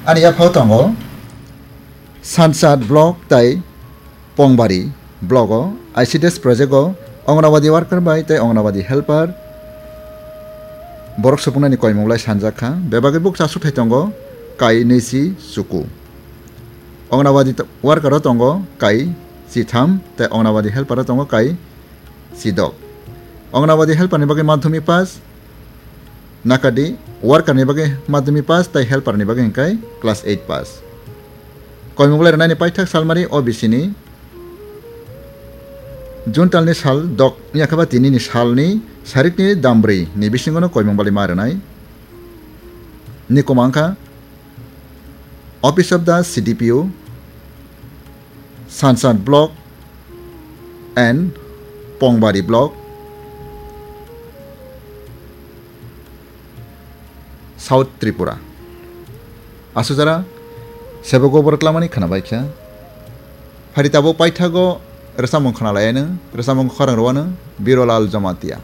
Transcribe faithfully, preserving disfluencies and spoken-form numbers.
Ani yaphao tongo Sansad block tai Pongbari block o I C D S project o Anganwadi worker bai tai Anganwadi helper borok supungnani koimung lai sanjak kha. Bebagwi bukcha suthai tongo kai nwi si chuku. Anganwadi t-, worker o tongo kai chitham tai Anganwadi helper o tongo kai chidok. Anganwadi helper ni bagwi madhyamik pass, nakadi worker ni bagwi madhyamik pass tai helper ni bagwi hwnkhe class eight pass. Koimung lai rwnani paithak salmari O B C ni June talni sal dok wngya khe ba tini ni salni sarikni dam brwi ni bisingo no koimung bali ma rwnai. Ni kwmang kha Office of the C D P O, Sansad block and Pongbari block, South Tripura. Asujara, sebo gobor tlamani khwnabai kha. Phari tabuk paithago rwchapmung khwnalaianw, rwchapmung khorang rwano Birolal Jamatia.